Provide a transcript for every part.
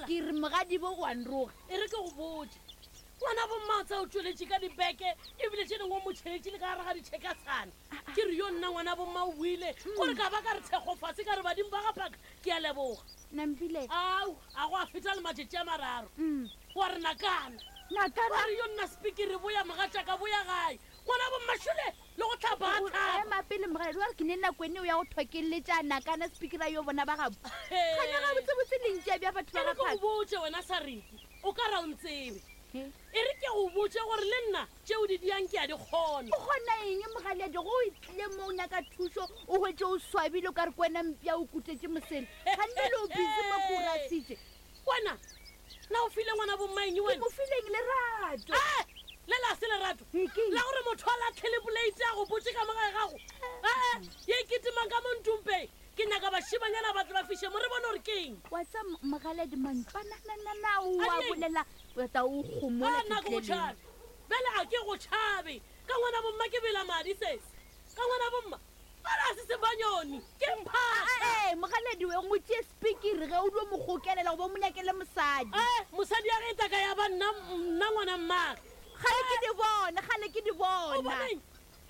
Ke re mogadibo o a nroga. E re ke go botše, ngwana bommatsa o tšweletše ka dibeke ebile tše dingwe o mo tšheletše le ka gare ga ditšhekatshana. Ke re yo nna ngwana bomma o buile gore ka ba ka re thekgo fase ka re badimo ba ga phaka ke a leboga. Nampile. Ao, a go a feta le matšatši a mararo. Wa re nakana. Nakana. Wa re yo nna sepikiri boya mogatšaka boya gae. Ngwana bommašole le go tlhapa a tlhapa. Ema pele mogadi wa re ke ne nako ene o ya go thokeletša nakana sepikiri a yo bona ba gabo. Gane gabotsebotse le ntšea bja batho ba E re ga ke go phaka. botše wena Sariki, o ka ra o ntsebe. E re ke go botše gore le nna tšeo di diang ke a di kgona. O kgona eng mogaledi go o tlile mo o nyaka thušo o hwetše o swabile o ka re ke wena mpša o kutetše mosele. Ganne le o busy mo ke o rasitše. Wena, na o file ngwana bomma eng Ke wena? mo fileng lerato. Eh, le la se lerato Ee, ke eng? la gore motho a latlhele poleite a go botše ka mo gae gago. Ee, ye e kitimang ka mo ntumpeng. Ke nyaka bašemanyana ba tle ba fiše mo re bone gore ke eng. Wa tsa mogaledi mantswananana o A a di eng? bolela o tla o kgomola A nna ke go fihleleng. tšhabe. Bjale a ke go tšhabe. Ka ngwana bomma ke bela madi sesi. Ka ngwana bomma bjale a se sebanyoni ke mphaka. Ee, mogaledi we o tšee sepikiri ge o dio mo gokelela goba o mo nyakele mosadi. Ee, mosadi ya ge e tla ka ya ba nna nna ngwana mmage. Kgale ke di bona, kgale ke di O bona. boneng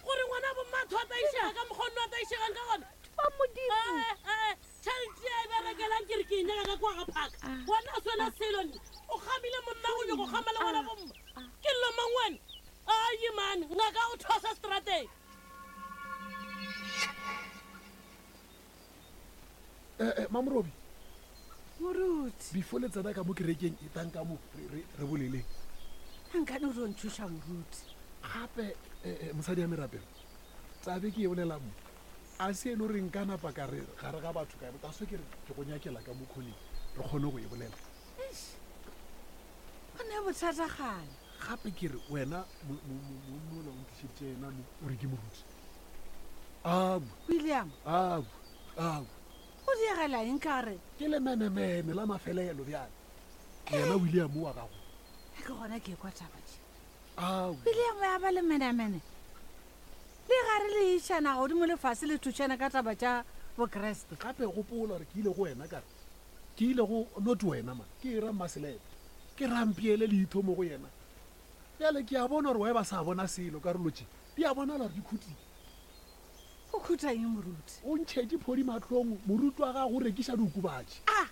gore ngwana bomma a tho a taišega ka mokgwa o nno a taišegang ka gona? Ba Modimo. Ee, ee, tšhelete e berekelang ke re ke e nyaka ka kwa ga phaka. Wena o swena selo nne. O gamile monna o nyoko gama le ngwana bomma. Ke llo mang wena? Ayi mane, ngaka o thosa strateng. Eh, eh, Mamorobi. Moruti. Before le tsena ka mo kerekeng e tang ka mo re re boleleng. Nkane o tlo nthuša moruti. Gape eh, eh, mosadi ya merapelo. Tabe ke e bolela mo. A se e le gore nka napa ka re gare ga batho ka ta so ke re ke go nyakela ka mo khoneng re kgone go e bolela. Eish. Go ne bothata gale. Gape ke re wena mola o ntlišeditše yena mo o re ke moruti. Abu. William. Abu. Abu. O diegela eng ka re? Ke lemenemene la mafelelo bjale. Yena William wa gago. Ke gona ke kwa taba tše. Abu. William ya ba lemenemene. Le gare le išana godimo le fase le thušana ka taba tša Bokreste. Gape gopola gore ke ile go wena ka re ke ile go not wena man ke e ra Mmaselepe. Ke rampiele leitho mo go yena. Bjale ke a bona gore wa e ba sa bona selo karolo tše di a bonala gore di khutile. Go khuta eng moruti? O ntšhetše phodi mahlong moruti wa gago o rekiša diokobatši. A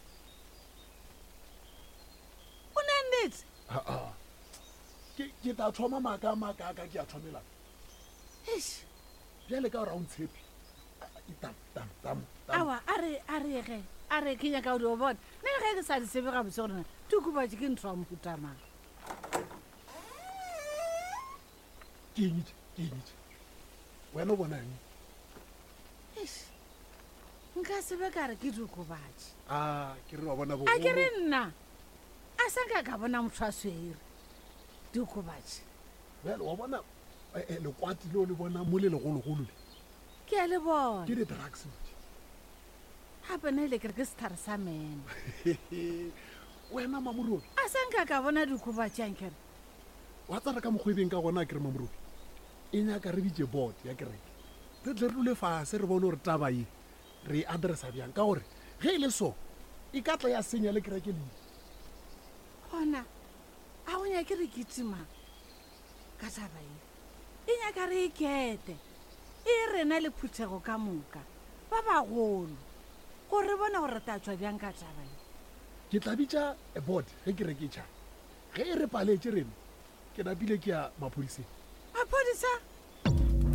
O ne nnete? Aa. Ke ke tla thoma maaka a makaaka ke a thomelang. Eish. Bjale ka gore ga o ntshepe. Tam tam tam tam. Aowa a re a re ge a re ke nyaka go di o bona. Nna le ge ke sa di tsebe gabotse gore na diokobatši ke ntho ya mohuta mang. Ke eng tše? Ke eng tše? Wena o bona eng? Eish. Nka se be ka re ke diokobatši. A ke re wa bona A ke re bogolo. nna a sa nka ka bona motho a swere diokobatši. Bjale wa bona eh, eh, lekwati leo le bona mo le legologolo le. Ke a le bona. Ke di-drugs tše. Gape nna ile ke re ke setlhare sa meno. Wena Mamorobi. A sa nka ka bona diokobatši ankere. Wa tsara ka mokgwa e beng ka gona a kere Mamorobi. E nyaka re bitše board ya kereke. Re tle re dule fase re bone gore taba ye re e addressa bjang ka gore ge e le so e ka tla ya senya le kereke leina. Gona a go nyake re kitima ka taba ye. E nyaka re e kete e rena le phuthego ka moka ba bagolo gore re bone gore re tla tšwa bjang ka taba ye. Ke tla bitša board ge kereke e tšhaba. Ge e re paletše rena, ke napile ke ya maphodiseng. Maphodisa?